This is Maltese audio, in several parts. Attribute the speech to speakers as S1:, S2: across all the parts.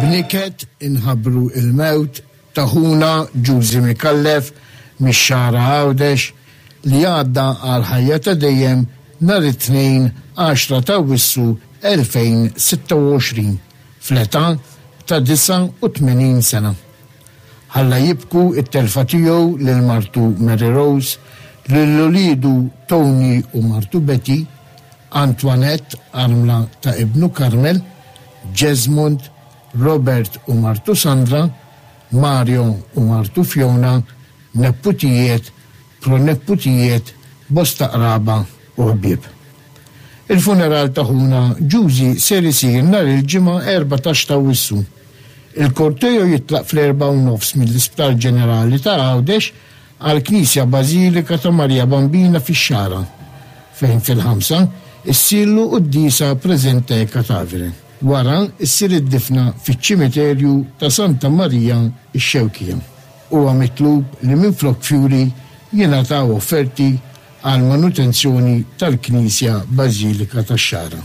S1: B'niket inħabbru l-mewt ta' ħuna Ġużi Micallef mix-Xagħra Għawdex li għadda għall-ħajja ta' dejjem nhar it-Tnejn 10 t'Awwissu 2026 fl-età ta' 89 sena. Ħalla jibku t-telfa tiegħu lil martu Mary Rose, lil uliedu Tony u martu Betty, Antoinette armla ta' ibnu Carmel, Jesmond, Robert u martu Sandra, Mario u martu Fiona, neputijiet, proneputijiet, bosta qraba u ħbieb. Il-funeral ta' ħuna Ġużi ser isir nhar il-Ġimgħa 14 t'Awwissu. Il-korteo jitlaq fl-erbgħa u nofs mill-Isptar Ġenerali ta' Għawdex għall-Knisja Bażilika ta' Marija Bambina fix-Xagħra, fejn fil-ħamsa issirlu quddiesa presente catavere. Wara ssir id-difna fiċ-Ċimiterju ta' Santa Marija x-Xewkija. Huwa mitlub li minflok fjuri jingħataw offerti għall-manutenzjoni tal-Knisja Bażilika tax-Xagħra.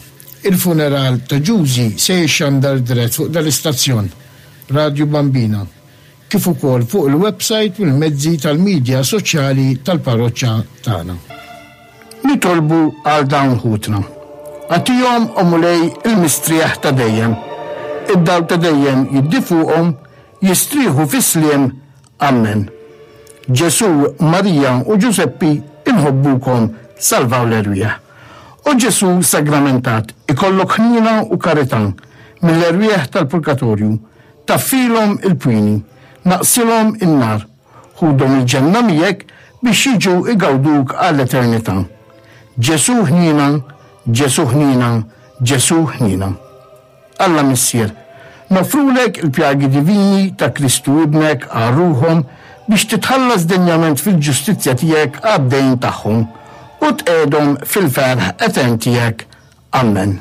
S1: Il-funeral ta' Ġużi se jixxandar dirett fuq dal-istazzjon, Radju Bambina, kif ukoll fuq il-websajt u l-mezzi tal-midja soċjali tal-parroċċa tagħna. Nitolbu għal dawn ħutna. Agħtihom, o Mulej, il-mistrieħ ta' dejjem. Id-dawl ta' dejjem jiddi fuqhom, jistrieħu fis-sliem Ammen. Ġesù, Marija u Ġużeppi inħobbukom salvaw l-erwieħ. O Ġesù sagramentat, ikollok ħniena u karità mill-erwieħ tal-purgatorju, taffilhom il-pwieni, naqsilhom in-nar, ħudhom il-ġenna miegħek biex jiġu igawduk għall-eternità. Ġesù ħniena, Ġesù ħniena, Ġesù ħniena. Alla Missier, noffrulek il-pjagi divini ta' Kristu Ibnek għal ruħhom biex titħallas denjament fil-ġustizzja tiegħek għad-dejn tagħhom u tqiegħdhom fil-ferħ etern tiegħek. Ammen.